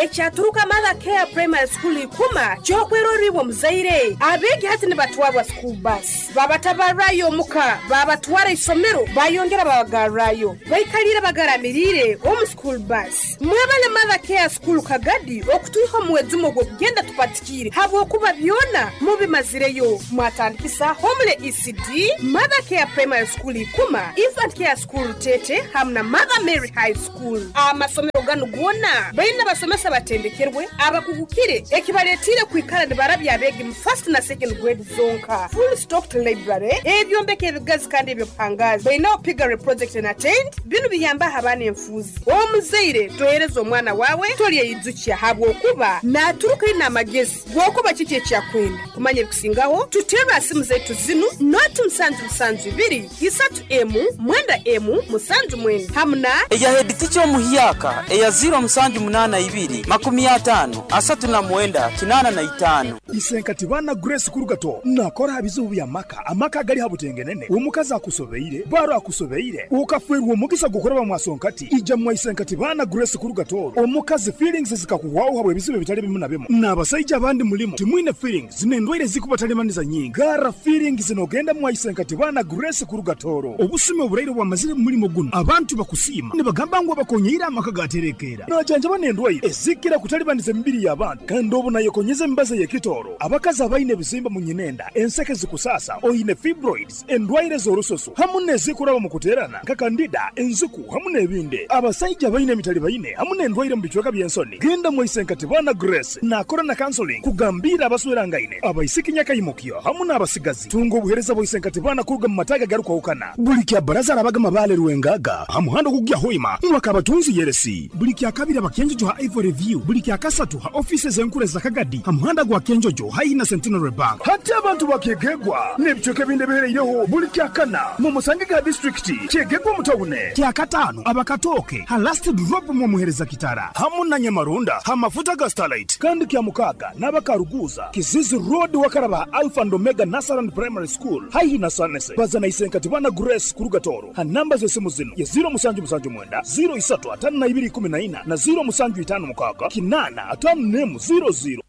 Ekyaturuka Mother Care Primary School Ikuma ky'okwerorra iwe omuzaire. Abeegi hati nibatwarwa school bus, babatabarrayo omuka, babatwara isomero, bayongera babagarrayo. Baikaliire bagaramiriire omu school bus. Mwebale Mother Care School Kagadi okutwiha omu mwejumo gw'okugenda tupatikiire habwokuba byona mubimazireyo. Mwatandikisa Homely ECD, Mother Care Primary School Ikuma, Infant Care School Rutete hamu na Mother Mary High School. Amasomero ganu goona baine abasomesa abatendekerwe, abakugukire ekibaletiire kwikara nibarabya abeegi mu first na second grade zonka. Full stocked library, ebyombeko ebigazi kandi eby'obuhangaazi. Bainaho piggery project and attained. Binu biyambaho abaana enfuuzi. Omuzaire tohereza omwana waawe tolyeyijukya habwokuba naaturuka aine amagezi g'okuba kiki eki akwenda. Kumanya ebikusingaho, tuterre aha simu zaitu zinu, noti musanju musanju ibiri, isatu emu, mwenda emu, musanju mwenda hamu na. Eya heditica omuhyaka eya ziiro musanju munaana ibiri, makumi ataano, asatu na mwenda, kinaana na itaano. Isenkati baana Grace Kurugato nakora aha bizibu by'amaka, amaka agali ha butengenene, omukazi akusobeire, baro akusobeire, okafeerwa omugisa gw'okuraba mwa sonkati, ija mwa Isenkati baana Grace Kurugato, omukazi feelings zikakuhwaho habw'ebizibu ebitali bimu na bimu, n'abasaija abandi mulimu timwine feelings n'endwaire ezikubatalibaniza nyingi, garra feelings n'ogenda mwa Isenkati baana Grace Kurugatoro. Obusumi oburaire obwamazire mu mulimo gunu, abantu bakusiima nibagamba ngu abakonyeire amaka gaterekeera. Najanjaba n'endwaire ezikira kutalibaniza emibiri y'abantu kandi obu nayekonyeza emibazi ey'ekitooro, abakazi abaine ebizimba mu nyinenda, enseke zikusaasa, oine fibroids, endwaire z'orususu hamu n'ezikuraba omu kuteerana nka kandida, enziku hamu n'ebindi. Abasaija abaine emitalibaine hamu n'endwaire omu bicweka by'ensoni, genda mwa Isenkatibana Grace nakora na counseling kugambiira abaswerangaine, abaisiki nyakaimukyo hamu n'abasigazi. Tunga obuheereza bwa Isenkatibana kuruga mu mataga agarukwahukana. Buli kya baraza arabaga Mabale Rwengaga ha muhanda ogukugya Hoima mwaka abatunzi Yeresi. Buli kya kabiri abakenjojo ha Ivory View. Buli kya kasatu ha ofisi z'enkuru eza Kagadi ha muhanda gwa Kenjojo haihi na Centenary Bank. Hati abantu bakyegegwa n'ebicweka ebindi ebihereireho buli kya kana mu musange ga disitulikiti kyegegwa omu tawune. Kya kataano abakatooke ha last drop mwamuhereza kitara hamu na Nyamarunda ha mafuta ga Starlight. Kandi kya mukaaga n'abakaruguuza Kizizi Road wakaraba Alpha and Omega Nursery and Primary School haihi na Sanese. Baza na Isenkatibana Grace kuruga Toro ha namba z'esimu zinu ya ziro musanju musanju mwenda ziro isatu atano na ibiri ikumi na ina na ziro musanju itano mukaaga kinana atano nemu ziro ziro.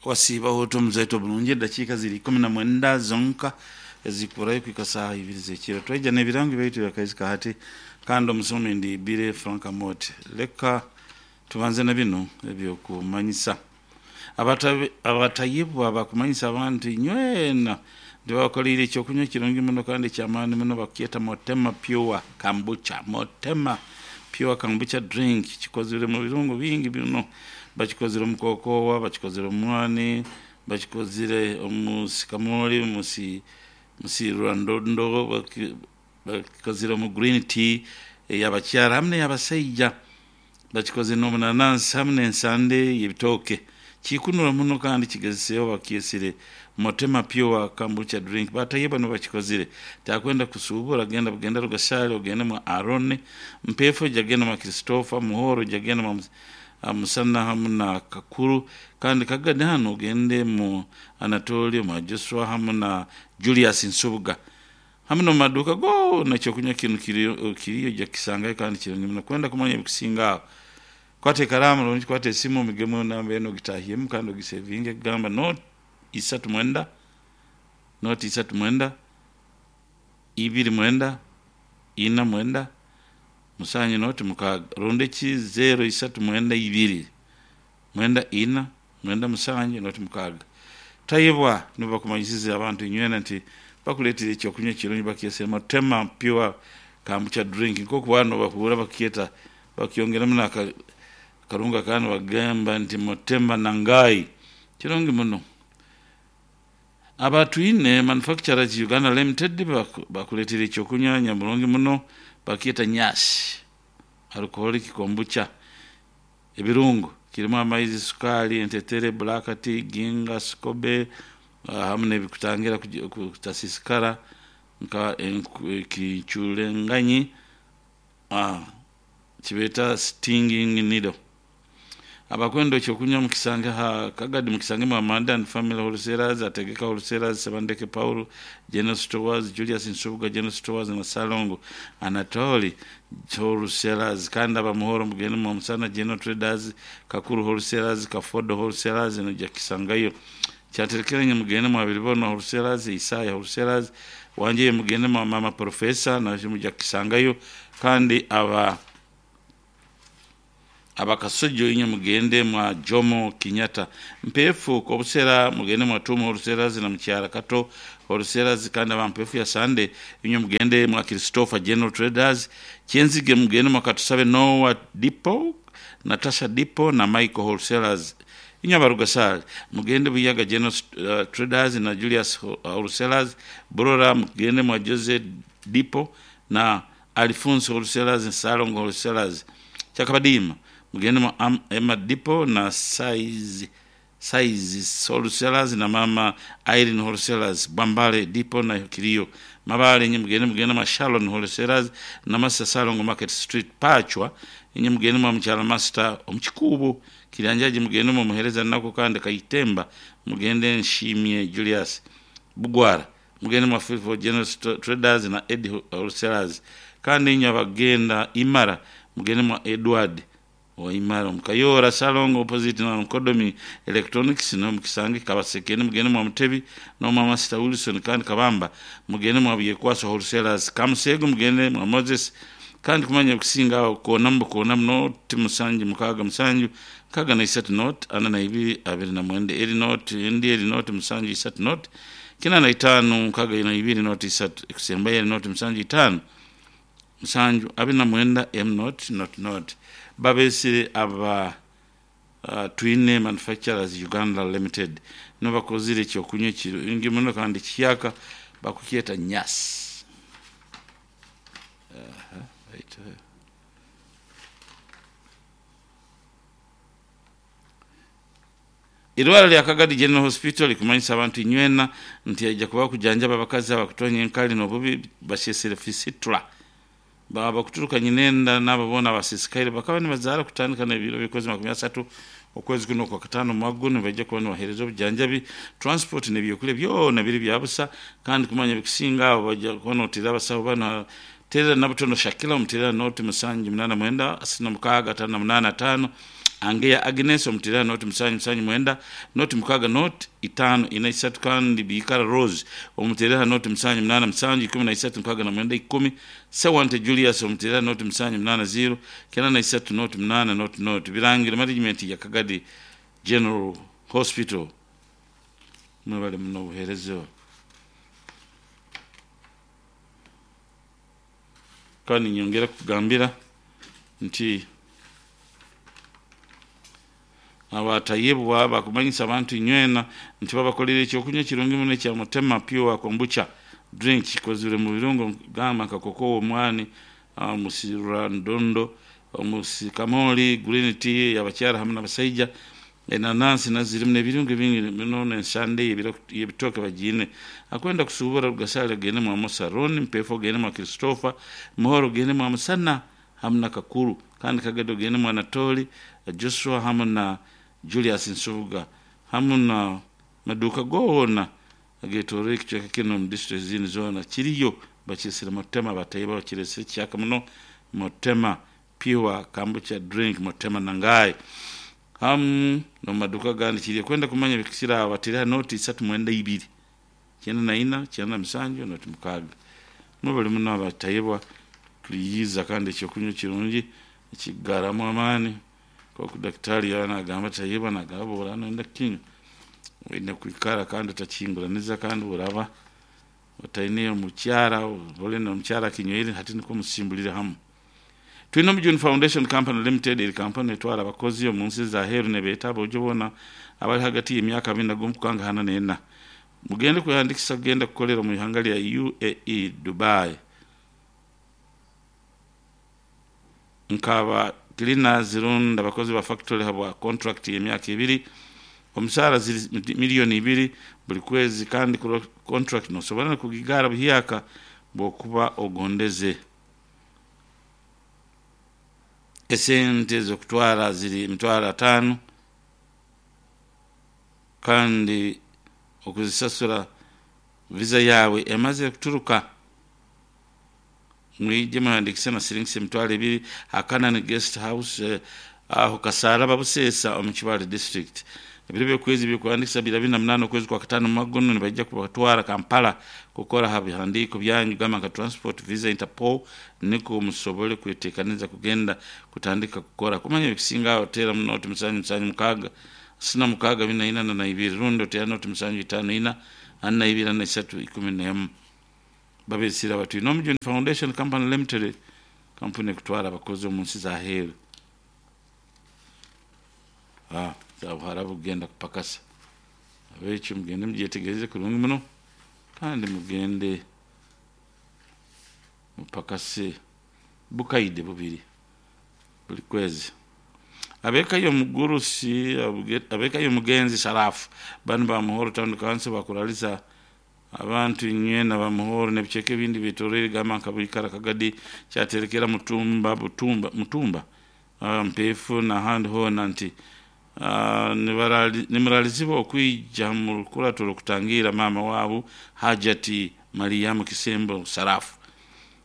Wasiibaho ota omuzaito obulungi edakiika ziri 19 zonka ezikurayo kuhika saaha ibiri z'ekiro. Twaija n'ebirango byaitu by'akaisi ka hati kandi omusomi ndi Billy Frank Amooti. Leka tubanze na binu eby'okumanyisa. Abatayebwa bakumanyisa abantu inywena nti babakoleire ekyokunywa ekirungi muno kandi eky'amaani muno bakukyeta Motema Pure Kombucha. Motema Pure Kombucha drink kikozirwe mu birungo bingi bino. Bakikozire omu kokowa, bakikozire omu mwani, bakikozire omu sikamoli, musirwandondo, bakikozire omu green tea ey'abakyara hamu n'ey'abasaija. Bakikozire n'omunanansi hamu n'ensande y'ebitooke. Kikunura muno kandi kigezeseho bakyesire Motema Pure Kombucha drink. Batayebwa nibo bakikozire. Takwenda kusuubura genda bugenda Rugashaali ogende mwa Aaron, Mpefo jagenda mwa Christopher, Muhoro jagenda mwa Musana hamu na Kakuru, kandi Kagadi hano ogende mu Anatolio mwa Joshua hamu na Julius Nsubuga. Hamu n'omu maduuka goona ekyokunywa kinu kiriyo ojja kukisangayo kandi kirungi muno. Kwenda kumanya ebikusinga aho, kwata ekaraamu rundi kwata esimu omigemu enamba enu ogitahyemu kandi ogisevinge kugamba noti isatu mwenda, noti isatu mwenda, ibiri mwenda, ina mwenda, musanju noti mukaaga, rundi eki zero isatu mwenda ibiri, mwenda ina, mwenda musanju noti mukaaga. Tayebwa nibo bakumanyisize abantu inywena nti bakuleetera ekyokunywa ekirungi bakyesere Motema Pure Kombucha drink. Nk'oku bano bahuura bakyeta bakyongeramu n'akarungo akandi bagamba nti Motema Nangai. Kirungi muno. Abatwine Manufacturers Uganda Limited bakuleetera ekyokunywa nyamurungi muno bakyeta Nyashi alcoholic kombucha. Ebirungo kirimu amaizi, sukaali, entetere, black tea, ginga, sikobe hamu n'ebikutangira kutasisikara nka ekicurenganyi kibeeta stinging needle. Abakwenda ekyokunywa mukisange ha Kagadi, mukisange mwa Amanda and Family Wholesalers, Ategeka Wholesalers, Sebandeke Paul, General Stores, Julius Nsubuga General Stores na Salongo Anatoli Wholesalers. Kandi abamuhoro mugende mwa Musana General Traders, Kakuru Wholesalers, Kafodo Wholesalers noja kisangayo. Kyaterekeranye mugende mwa Bilibona Wholesalers, Isaya Wholesalers, wanje mugende mwa Mama Professor naje muja kisangayo. Kandi aba abakasojo inye mugende mwa Jomo Kenyatta, mpefu kobusera mugende mwa Tumo Wholesalers na Mkyara Kato Wholesalers. Kandi aba mpefu ya Sande inye mugende mwa Christopher General Traders, Kyenzige mugende mwa Katusabe Noah Depot, Natasha Depot na Michael Wholesalers. Inye abarugasale mugende Buyaga General Traders na Julius Wholesalers. Burora mugende mwa Jose Depot na Alfonso Wholesalers na Salongo Wholesalers. Kyakabadima mugende mwa Emma Depot na Size Size Wholesalers na Mama Irene Wholesalers, Bambale Depot na Kilio Mabale. Nye mugende mwa Shalon Wholesalers na Master Salongo Market Street. Pachwa inye mugende mwa Mchala Master Omchikubu. Kilanjaji mugende mwa Muhereza nako kandi Kaitemba mugende Nshimye Julius. Bugwara mugende mwa Fifo General Traders na Ed Wholesalers. Kandi inye abagenda Imara mugende mwa Edward wa Imara Mukayora Salongo opposite na Nkodomi Electronics no mukisange. Kabasekeni mugende mwa Mutebi no mwa Master Wilson. Kandi Kabamba mugende mwa Byekwaso Wholesalers. Kamusego mugende mwa Moses. Kandi kumanya kusinga kona mbo not musanju mukaga musanju kaga na isatu not ana na ibiri abiri na mwende eri not endi eri not musanju isatu not kina na itanu mukaga na ibiri not isatu kusemba eri not musanju itanu musanju abiri na mwenda m not not not. Babesire aba Twine Manufacturers Uganda Limited no bakozire ekyokunywa kirungi muno kandi kiyaka bakukyeta nyasi. Right. Irwara lya Kagadi General Hospital likumanyisa abantu inywena nti ajja kuba kujanjaba abakazi abakutonya enkali n'obubi basyesere fistula baba kuturuka nyinenda n'ababona abasisikaire bakaba nibazaara kutandika n'ebiro bikozi 30 okwezi kuno kwa katano mwaguno bajja kuba nibaheereza obujanjabi, transport n'ebyokulya byona biri byabusa. Kandi kumanya bikusinga abo bajja kuba nootera abasawo bano terera Nabutono Shakila omuterera noti musanju munana mwenda asina mukaaga tano na munana tano. Angeya Agnes omuterera noti musanju musanju mwenda noti mukaaga noti itano ina isatu. Kandi Bikara Rose omuterera noti musanju munana musanju ikumi na isatu mukaaga na mwenda ikumi. Sewante Julius omuterera noti musanju munana ziro kenda na isatu noti munana noti noti. Birangira management ya Kagadi General Hospital mwebale muno obuheereza. Kandi nyongera kugambira nti abatayebwa bakumanyisa abantu inywena nti babakolera ekyokunywa kirungi muno ekya Mutema Pure Kombucha drink kikozire mu birungo gamba nka kokowo, omwani, omusirandondo, omusikamoli, green tea yabakyara hamu n'abasaija, enanansi nazirimu n'ebirungo bingi muno n'ensande y'ebitooke bagiine. Akwenda kusubura Rugasale gende mwa Musaroni, Mpefo gende mwa Christopher, Muhoro gende mwa Musana hamu na Kakuru. Kandi Kagado gende mwa Anatoli Joshua hamu na Julius Nsubuga hamu na maduka goona agetore ekicweka kino mu district zindi zoona kiriyo bakisire Mutema. Bataiba bakiresire kyaka muno Mutema Pure Kombucha drink Mutema nangaye hamu no maduka gandi kiriyo. Kwenda kumanya bikisira batira noti isatu mwenda ibiri kyenda na ina kyenda na musanju noti mukaaga. Mubali muno abatayebwa tuliyiza kandi ekyokunywa kirungi ekigaramu amaani koku daktari yana agamba tayebwa nagamba oranoenda kinywa oine kwikara kandi otakinguraniza kandi oraba otaine omukyara ole nomukyara kinywire hati nikwo musimbulire hamu. Twine Omujuni Foundation Company Limited eri kampani etwara abakozi omu nsi za heru nebeeta abojo boona abali hagati y'emyaka 21 kukanga hana n'ena. Mugende kwehandikisa kugenda kukolera omu ihanga lya UAE Dubai nkaba cleaners rundi abakozi ba factory habwa contract y'emyaka 2, omusaara ziri miliyoni 2 buli kwezi. Kandi contract nosobora kugigara buhyaka bwokuba ogondeze. Esente z'okutwara ziri 50,000 kandi okuzisasura visa yawe emaze kuturuka. Mwije muhandikise na siringisi 20,000 Hakanani Guest House aho Kasaraba Busesa omu Kibaale district. Ebiro by'okwezi by'okuhandikisa biri 28 okwezi kwa katano mu mwaka guno. Nibaija kubatwara Kampala kukora ha bihandiiko byanyu gamba nka transport, visa, Interpol, niko musobole kwetekaniza kugenda kutandika kukora. Kumanya ebikisinga aho tera munoti 7 7 6 66 442 rundi otera noti 7 5 4 42 43 11. Babesira bati Nomjuni Foundation Company Limited, kampuni ekutwara abakozi omu nsi za heeru za Buharabu kugenda kupakasa. Abekyo mugende mugyetegereze kurungi muno kandi mugende mupakase bukaide bubiri buli kwezi. Abekayo mugurusi abekayo mugenzi Sharafu banu ba Muhoro Town Council bakuraliza abantu inywena ba Muhoro n'ebiceke ebindi bitorere gamba nka Bwikara, Kagadi, Kyaterekera, Mutumba, Butumba, Mutumba, Mpefu n'ahandi hoona nti nimuralizibwa okwija mu rukurato kutangira maama waabo Hajati Mariamu Kisembo Sarafu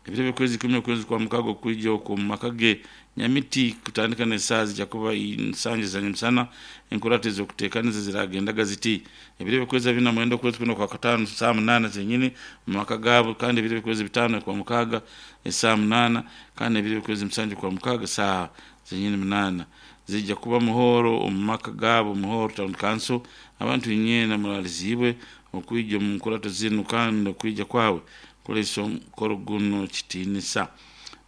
ebiro by'okwezi 10 okwezi kwa mukago okwija okwo mu maka ge Nyamiti kutandika n'esaaha zijja kuba nsanje za nyamusana. Enkurato ez'okuteekaniza ziragendaga ziti: ebiro by'okwezi 29 okwezi kuno kwa katano saa 8 zenyini mu maka gaabo, kandi ebiro by'okwezi 5 kwa mukaaga esaa 8, kandi ebiro by'okwezi 7 kwa mukaaga saaha zenyini 8 zijja kuba Muhoro omu maka gaabo Muhoro Town Council. Abantu inywena muralizibwe okwija omu nkurato zinu kandi okwija kwawe kuleesa omukoro guno kitiinisa.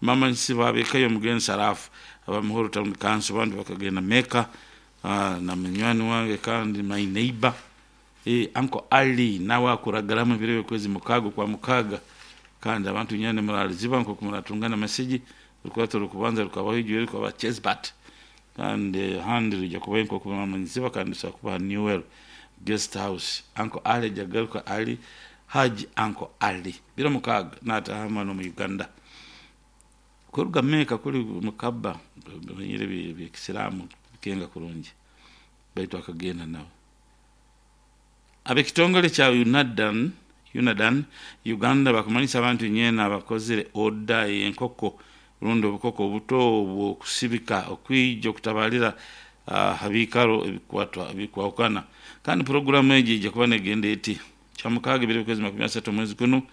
Mama nsiba abekayo omugenzi Sarafu aba Muhoro Town Council abandi bakagenda Mecca na munywani wange kandi my neighbor Uncle Ali nawe akuragaramu ebiro by'okwezi mukaga kwa mukaga. Kandi abantu nyane muraliziba nkoku muratungana masigi rukurato rukubanza rukabaho igihe rukaba Chesbat kandi handi rujya kuba nkoku mama nsiba kandi sa kuba Newell Guest House. Uncle Ali jagaruka Ali Haji Uncle Ali biro mukaga natahama no mu Uganda kuruga Mecca kuli mukaba banyire byekisiramu bikenga kurungi baitu akagenda nabo. Abekitongole kya Unadan Uganda bakumanyisa abantu nyena abakozere oda y'enkoko rundi obukoko obuto obwokusibika okwija okutabalira habikaro ebikwatwa ebikwahukana. Kandi programu egi ijja kuba negenda eti: kyamukaaga ebiro by'okwezi 30 omwezi guno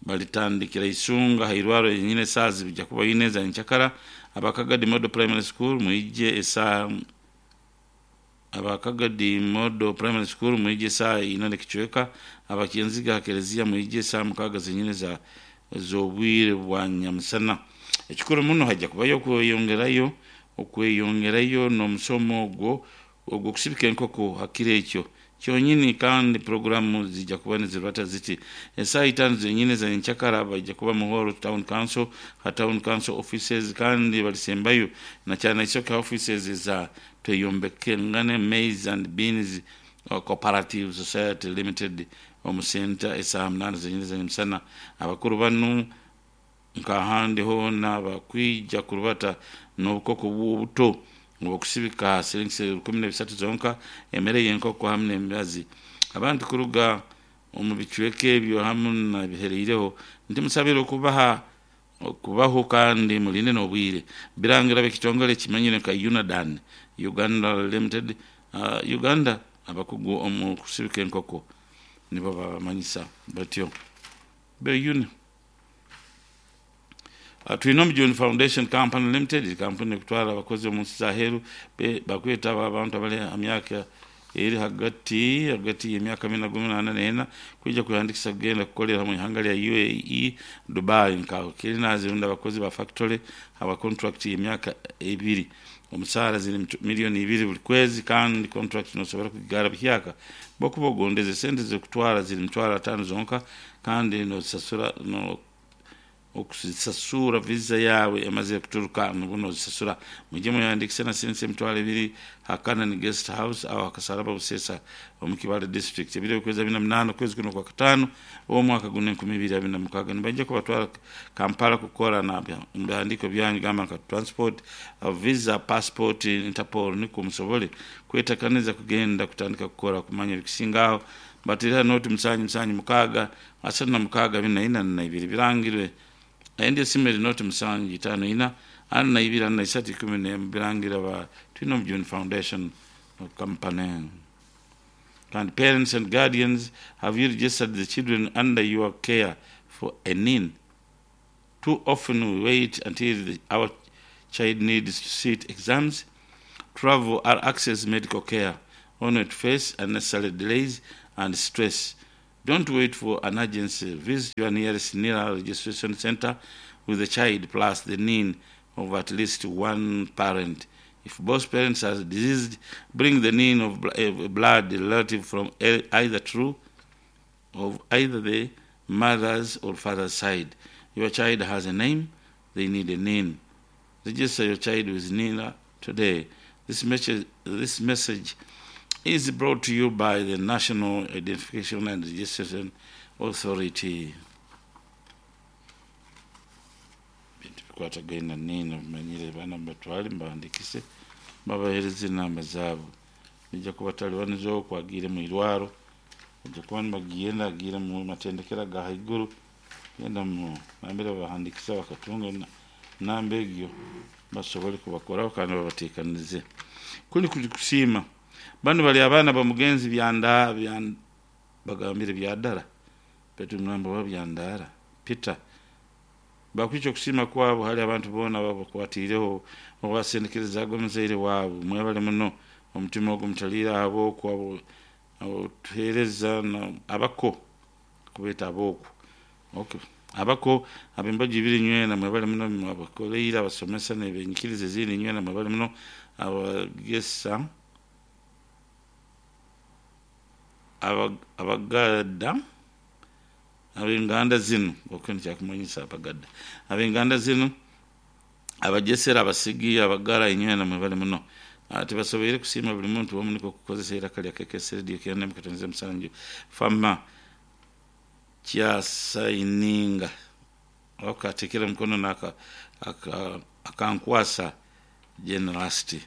balitandikira Isunga hairwaro yenyine esaaha zijja kuba ine za nchakara. Abakagadi Model Primary School mwije esaa Abakagadi Model Primary School mwije saa ina n'ekicweka. Abakinziga Kelezia mwije saa 6 zenyine za z'obwire bwa nyamusana. Ekikuru muno hajja kubayo okweyongerayo n'omusomo ogwo ogw'okusibika enkoko hakiro ekyo kyonyini. Kandi programu zijja kuba nizirwata ziti: esaaha 5 zenyine za nchakara bajja kuba Muhoro Town Council ha Town Council offices, kandi balisembayo na cyane isoka offices za Tweyombekengane Maize and Beans Cooperative Society Limited omu center esaaha 8 zenyine za nyamusana. Abakuru banu nkahandi hoona bakwija kurubata n'obukoko bw'obuto obwokusibika siringisi 13 zonka, emere y'enkoko hamwe n'emibazi. Abantu kuruga omu bicweka ebyo hamwe nabihereireho ntimusabire okubaha okubaho kandi mulinde n'obwire. Birangira b'ekitongole kimanyire nka Unadan Uganda Limited, Uganda abakugu omu kusibika enkoko nibo babamanyisa batyo beyuni. Twine Omujuni Foundation Company Limited, kampuni ekutwara abakozi omu nsi za heeru bakwetaba abantu abali ha myaka eri hagati y'emyaka 18 kwija kwehandikisa kugenda kukolera mu ihanga lya UAE Dubai nka cleaners rundi abakozi ba factory aba contract y'emyaka 2, omusaara ziri 2 million buli kwezi, kandi contract nosobora kugigara buhyaka bokuba ogondeze. Sente z'okutwara ziri 50,000 zonka kandi nosasura no Okusasura visa yawe emaze kuturuka nubwo nozisasura. Mujye muyandikise na sense 20,000 hakana ni guest house aho hakasaraba Busesa omu Kibale district. Ebiro kwezi 28 kwezi kuno kwa katano uwo mwaka guno 2026 nibajja kubatwara Kampala kukora na bihandiko byanyu gamba nka transport, visa, passport, Interpol niko musobole kwetakaniza kugenda kutandika kukora kumanya ebikisingaho. Batira noti 7 7 6 36 4 4 2 birangirwe. Endi esimu eri noti 7 5 4 42 43 11 birangira ba Twino June Foundation Company. And parents and guardians, have you registered the children under your care for a NIN? Too often we wait until our child needs to sit exams, travel or access medical care, only to face unnecessary delays and stress. Don't wait for an agency. Visit your nearest NIRA registration center with the child plus the NIN of at least one parent. If both parents are deceased, bring the NIN of blood relative from either true of either the mother's or father's side. Your child has a name, they need a NIN. Register your child with NIRA today. This message is brought to you by the National Identification and Registration Authority. Bintu bikwatagaine na NIN mumanyire baana mubatwale mubandikise babahereze enamba zaabo. Nijja kubatalibaniza okwo agiire mu irwaro, ojja kuba nibagenda agiire mu matendekero aga haiguru, genda mu nambere babahandikisa bakatunga namba egyo basobole kubakoraho kandi babateekanize. Kuli kuli kusiima bano bali abaana bamugenzi byanda bagambire byadara betu mnamba wa byandara Peter bakwica okusiima kwabo hali abantu boona babakwatiireho obasendekerezaaga omuzaire waabwe. Mwebale muno omutima ogwo mutaliire ab'okwo abo tuheereza abako kubeeta ab'okwo, okay, abako ab'embaga ibiri nywena mwebale muno abakoleire abasomesa n'ebenyikiriza ezindi nywena mwebale muno abagesa abagada ab'enganda zinu okwo nikyakumanyisa abagada ab'enganda zinu abagesera abasigi abagara inywena mwebale muno. Tibasoboire kusiima buli muntu omu niko kukozesa iraka lya KKS Radio 97 fama kyasayininga okatekera mukono naka akankwasa generosity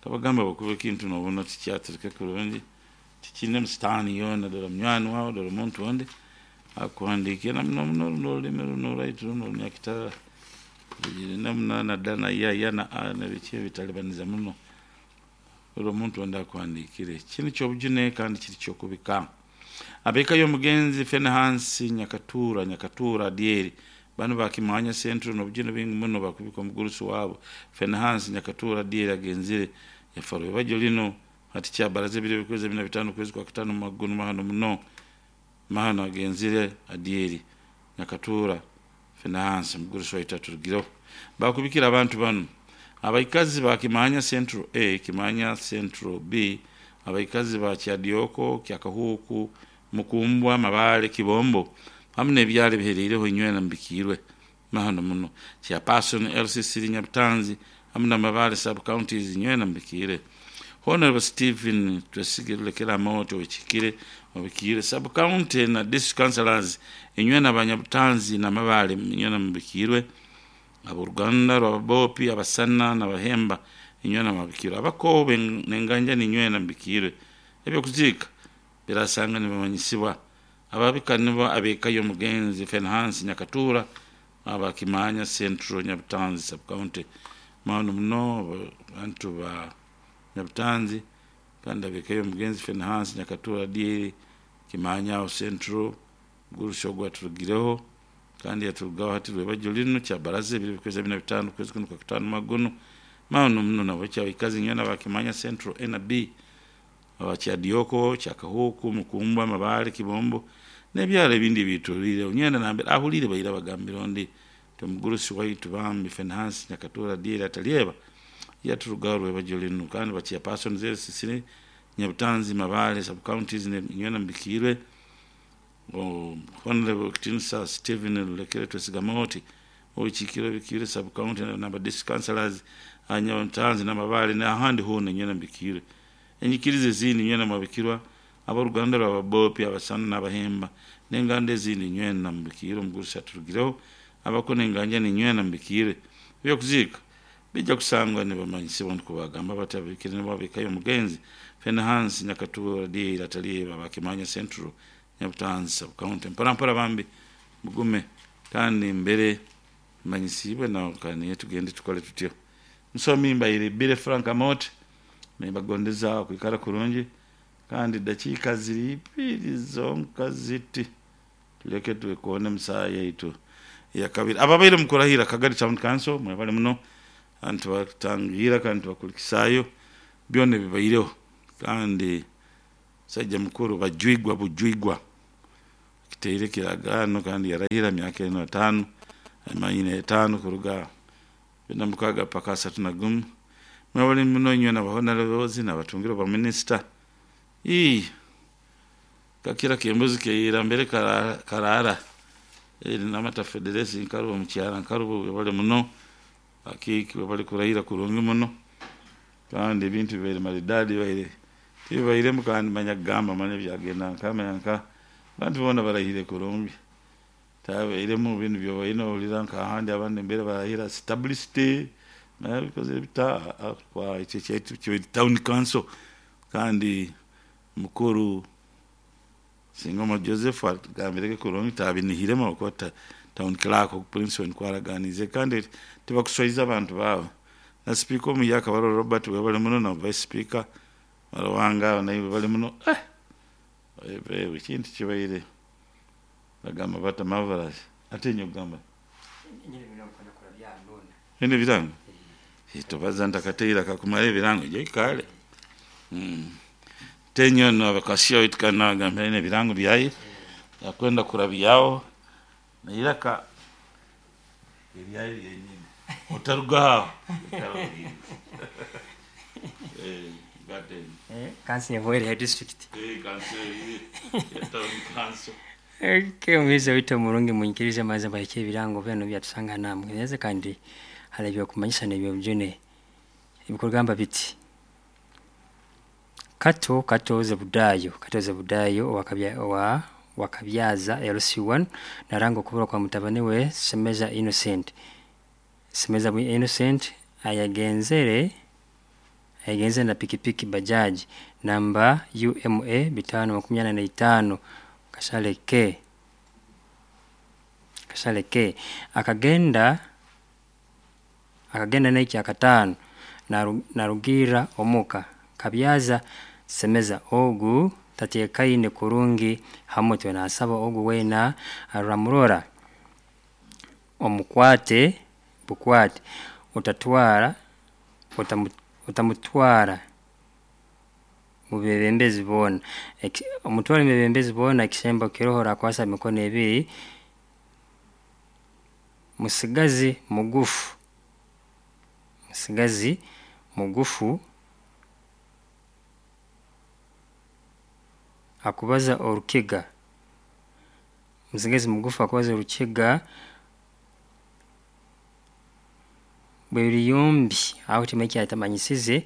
kabagamba bakuba ekintu nobona tikyatereka kurungi tikine musitaani yoona dora munywani wawe dora omuntu ondi akuhandiikira muno muno runo orulimi runo orwaitu runo orunyakitara na da na ya ya na a na biki ebitalibaniza muno ori omuntu ondi akuhandiikire. Kinu kyobujune kandi kiri kyokubika. Abeka y'omugenzi Fenehansi Nyakatura Nyakatura Adieri bano bakimanya Central n'obujune bingi muno bakubika omugurusi wabo Fenehansi Nyakatura Adieri agenzire yafarwe bajo lino hati kyabaraza ebiro bikwezi 45 kwezi kwa katano magunu mahano muno mahano agenzire Adieri Nyakatura Fenehansi mugurusi waitu aturugireho. Bakubikira abantu bano abaikazi ba Kimanya Central A, Kimanya Central B, abaikazi ba Kyadioko, Kyakahuku, Mukumbwa, Mabale, Kibombo hamwe n'ebyalo ebiheriireho inywena mubikirwe mahano muno. Chairperson LCC Nyabutanzi hamwe na Mabale sub counties inywena mubikire. Honorable Stephen Twesigire Lulekera Amooti obikikire obikire sub county na district councillors inywena abanyabutanzi na Mabale inywena mubikirwe. Aboruganda rw'ababopi abasana n'abahemba inywena mubikirwe. Abakobe n'enganja ninywena mubikirwe. Ebyokuziika birasanga nibamanyisibwa ababika nibo abeka y'omugenzi Fenehansi Nyakatura abakimanya Central Nyabutanzi sub county mahano muno abantu ba Nyabutanzi kandi abeka y'omugenzi Fenehansi Nyakatura Adieri Kimanya aho Central gurusi ogwo aturugireho kandi yaturugaho hati rwebajo lino kyabaraza ebiro bikwezi 45 kwezi kuno kwa katano magono mahano muno nabo kyabikazi nywena bakimanya Central A na B abakyadioko kyakahuku Mukumbwa, Mabale, Kibombo n'ebyalo ebindi bitulire onyenda nambere ahulire baira bagambira ondi tomugurusi waitu bambi Fenehansi Nyakatura Adieri atalyeba yaturugaho rwebajo lino kandi bakia person ZCC Nyabutanzi Mabale sub counties nywena mbikirwe. Honorable Kitinsa Stephen Lulekere Twesigamoti. Obukiikiro bikiire sub county naba district councillors, Nyamutanzi n'Amabaale n'ahandi hoona nywena mbikiire. Enyikiriza ezindi nywena mwabikirwa, ab'oruganda rw'Ababopi, Abasana n'Abahemba n'enganda ezindi nywena mubikiire. Omugurusi aturugireho abako n'enganjani nywena mubikiire. Ebyokuziika bijja kusangwa nibamanyisibwa nukwo bagamba bati ababikire nibo ab'eka y'omugenzi Fenehansi Nyakatuura Diira Ataliiba Bakimanya Central Nyabutanzi sub county. Mpora mpora bambi mugume kandi mbere manyisiibwe nawe kaniye tugende tukole tutyo. Musomi mbaire Billy Frank Amooti nimbagondeza okwikara kurungi kandi dakiika ziri ibiri zonka ziti tuleke twekoone mu saaha yaitu eyakabiri. Ababaire mukurahira Kagari Town Council mwebale muno kandi tubatangiira kandi tubakulikisaayo byona ebibaireho kandi musaija mukuru Bajwigwa Bujwigwa akiteire ekiragaano kandi yarahira myaka eno etaano manyine etaano kuruga 26 paka 31. Mwebale muno inywena ba honorables n'abatungire obwa minisita. Ii kakira k'embuzi keira mbere karara Namata Federesi Nkarubo omukyara Nkarubo webale muno akiiki webale kurahira kurungi muno kandi ebintu bibaire maridadi bibaire tibibairemu kandi manya kugamba manya byagenda nka manya nka abantu boona barahire kurungi tabairemu binu byobaire nohurira nk'ahandi abandi mbere barahira stability manya bikozere bita ekyo ekyaitu kibaire town council kandi mukuru Singoma Joseph atugambirege kurungi tabinihiremu ahabw'okuba town clerk Prince nikwo araganiize kandi tibakuswaiza abantu baabo. Na sipiika omuyaka Barore Robert webale muno na vice speaker Baruhanga naiwe webale muno. Ekintu kibaire bagamba bata marvelous ate inywe ogamba Oine ebirango? Tobaza ntakateire akakumara ebirango ija oikale. Tenyo nabakasya waitu kandi nagamba aine ebirango byaye yakwenda kurabyaho neiraka eryaye ryenyini otaruga aho ikara orinde. Kanso ehweire ya district. Kanso ya town council. Omuhaizi waitu omurungi munyikirize maze mbahikye ebirango byona ebyatusanga namwe kandi hariho ebyokumanyisa nebyobujune ebikugamba biti Kato Kato Zebudayo Kato Zebudayo owa Wakabyaza LC1 naranga okubura kwa mutabani we Semeza Innocent. Semeza Innocent ayagenzere na pikipiki bajaji namba UMA 525 Kasale K. Kasale K. Akagenda n'ekyakataano narugiira omuka Kabyaza Semeza ogu tateekaine kurungi ha mutwe nasaba ogu weena aramurora omukwate bukwate otamutwara mubebembezi boona. Omutware mubebembezi boona ekisembo kiroho orakwasa emikono ebiri, musigazi mugufu, musigazi mugufu akubaza orukiga, musigazi mugufu akubaza orukiga bweriyombi aho timanya ekitamanyisize,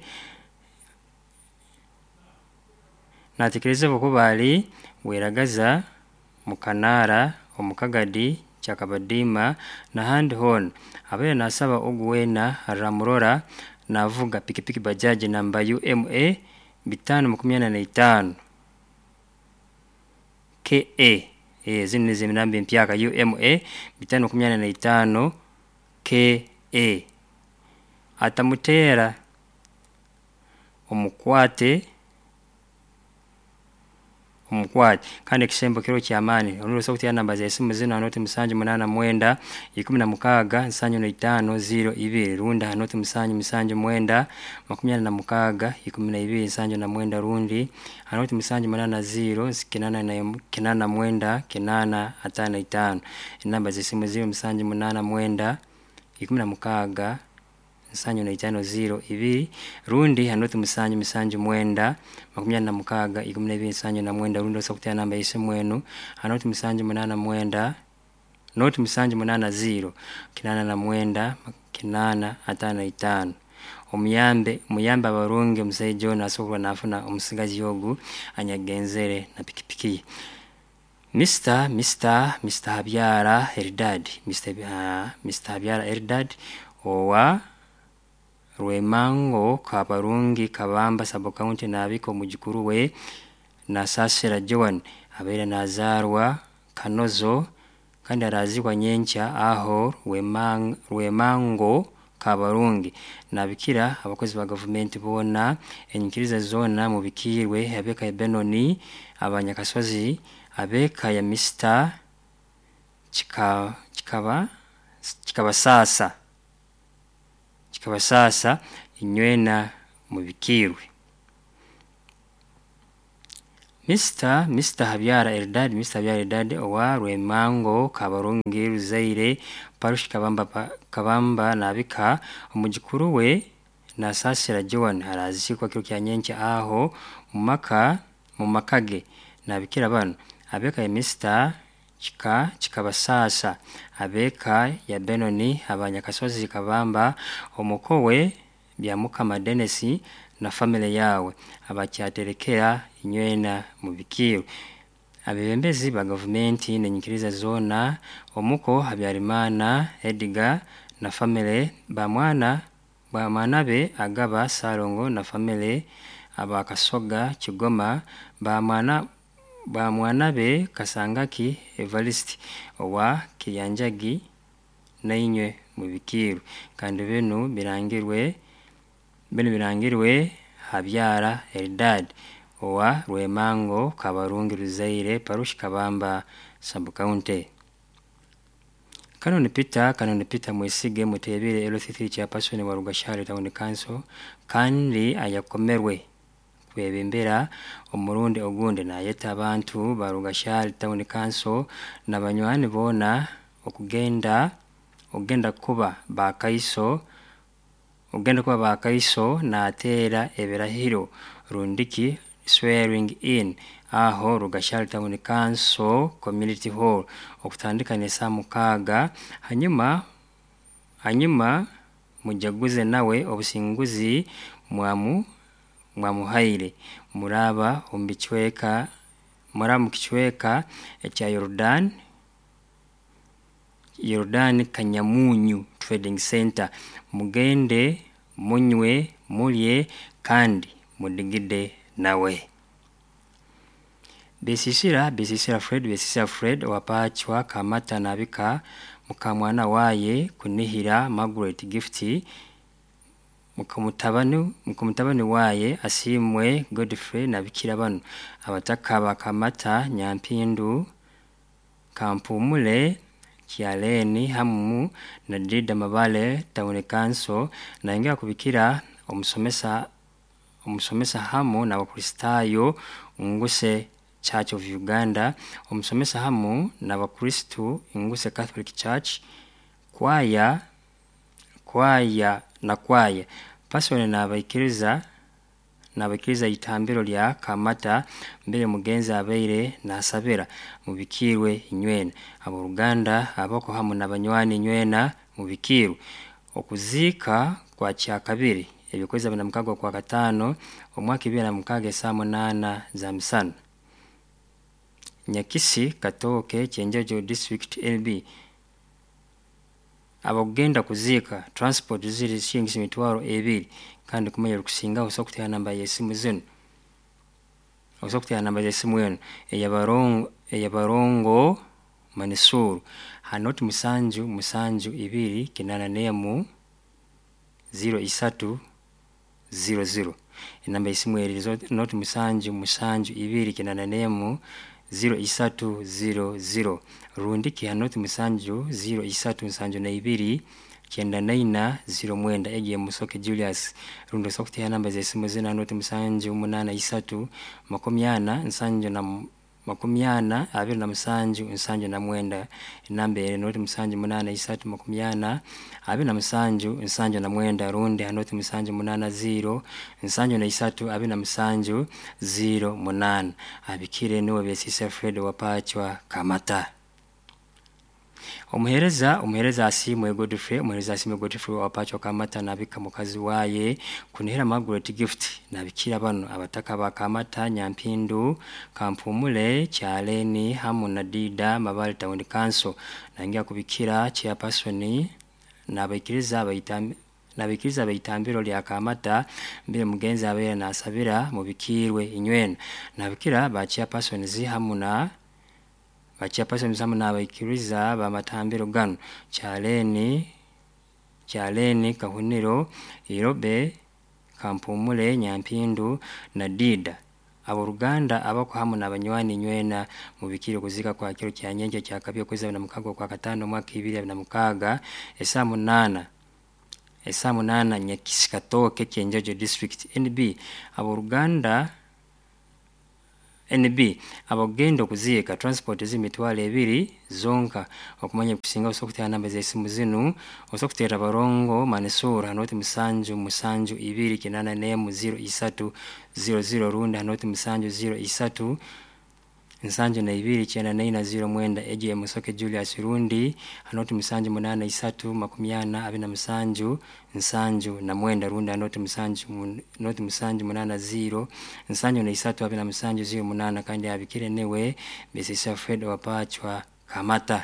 natekereza habwokuba ali Weragaza, Mukanaara, Omukagadi, Kyakabadiima nahandi hoona. Abaire nasaba ogu weena aramurora navuga pikipiki bajaji namba UMA 525 KA, zinu nizo enamba empyaka UMA 525 KA. Atamuteera, omukwate kandi ekisembo kiroho kyamaani orundi osobola kuteera enamba z'esimu zinu ha nooti 789 16 75 02 rundi ha nooti 779 26 12 79 rundi ha nooti 780 89 855. Enamba z'esimu ziri 789 16 75 02 rundi ha nooti 779 26 12 79 rundi osobola kuteera enamba y'esimu enu ha nooti 789. Noti 780 89 855. Omuyambe muyambe abarungi omusaija onu asobora nafuna omusigazi ogu anyagenzere na pikipiki ye. Mr. Habyara Eldad, Mr. Habyara Eldad owa Rwemango Kabarungi Kabamba sub county nabika omujukuru we Nasasira Joan abaire nazarwa Kanozo kandi arazikwa nyenkya aho Rwemango Kabarungi. Nabikira abakozi ba gavumenti boona, enyikiriza zoona mubikirwe, ab'eka ya Benoni, abanyakasozi, ab'eka ya Mr. Kikabasasa inywena mubikirwe. Mr. Habyara Eldad, Mr. Habyara Eldad owa Rwemango Kabarungi Ruzaire Parushi Kabamba nabika omujukuru we Nasasira Joan arazikwa kiro kya nyenkya aho mumakage. Nabikira bano ab'eka ya Mr. Kikabasasa, ab'eka ya Benoni, abanyakasozi Kabamba, omukowe Byamukama Dennis na family yawe abakyaterekera inywena mubikirwe. Abebembezi ba gavumenti n'enyikiriza zoona, omuko Habyarimana Edgar na family, bamwana be Agaba Salongo na family, abakasoga Kigoma, bamwana be Kasangaki Evariste owa Kiryanjagi nainywe mubikirwe. Kandi binu birangirwe Habyara Eldad owa Rwemango Kabarungi Ruzaire Parushi Kabamba sub county. Kanoni Peter Mwesige Mutebile LC3 chairperson wa Rugashari Town Council kandi ayakomerwe kwebembera omurundi ogundi nayeta abantu ba Rugashari Town Council na banywani boona okugenda kuba bakaiso nateera ebirahiro rundiki swearing in aho Rugashari Town Council Community Hall okutandika n'esaa 6. Hanyuma mujaguze nawe obusinguzi mwamuhaire muraba mukicweka ekya Yordan Kanyamunyu Trading Center. Mugende munywe mulye kandi mudigide nawe. Besisira Fred wapachwa Kamata nabika mukamwana waye kunihira Margaret Gift mukamutabani waye Asimwe Godfrey nabikira bano abataka bakamata Nyampindu Kampumule Kialeni hamu na Dida Mabale Town Council naingia kubikira omusomesa hamu na Bakristayo Nguse Church of Uganda, omusomesa hamu na Bakristu Nguse Catholic Church, kwaya na kwaya pasone n'abaikiriza itambiro lya Kamata mbere mugenzi abaire nasabira mubikirwe inywena. Aboluganda abako hamu n'abanywani inywena mubikirwe. Okuzika kwa kyakabiri ebikwezi 26 kwa 5 omwaka 2026 saa 8 za misana. Nyakisi Katoke Kyenjojo District LB. Abagenda kuzika transport ziri shilingi 20,000 kandi kumanya rukusinga osobola kutera namba y'esimu zino. Osobola kutera namba y'esimu eno eyabarongo Manisuru hanoti 7 7 2 8 1 03 00. Enamba y'esimu eri noti 7 7 2 8 1 03 00. Rundiki hanoti 7 0 3 72 94 09 egiye Musoke Julius. Rundi osobola kutera namba z'esimu zino hanoti 7 8 3 40 7 40 27 79. Enamba eri noti 7 8 3 40 27 79. Rundi hanoti 7 8 0 73 27 08. Abikire niwe Besisa Fred wapachwa Kamata. Omuhereza Asiimwe Godfrey, omuhereza Asiimwe Godfrey wa Pacho Kamata nabika mukazi waye kunihira Margaret Gift nabikira bano abataka ba Kamata, Nyampindu, Kampumule, Kyaleni hamu na Dida Mabale Town Council. Nangia kubikira chairperson nabaikiriza baitam nabikiriza baitambiro lya Kamata mbere mugenzi abera nasabira mubikirwe inywena. Nabikira ba chairpersons hamu na bachairpersons hamu n'abaikiriza bamatambiro gano Kyaleni, Kahuniro, Irobe, Kampumule, Nyampindu na Dida. Aboruganda abako hamu n'abanywani nywena mubikire kuzika kwa kiro kya nyenkya kya kabiri okwezi abiri na mukaga okwa katano omwaka 2026 esaa 8 esaa 8 Nyakisikatoke Kyenjojo District. NB aboruganda NB abagenda okuziika transport z'emitwalo 2 zonka. Okumanya kusinga osobola okuteera namba z'esimu zinu, osobola okuteera Barongo Manisura hanoti 7 7 2 81 03 00 rundi hanoti 7 03 72 94 09 ejo Musoke Julius rundi hanoti 7 8 3 40 27 79 rundi hanoti 7 noti 7 8 0 73 27 08 kandi abikire newe Mrs. Fred Wapachwa Kamata.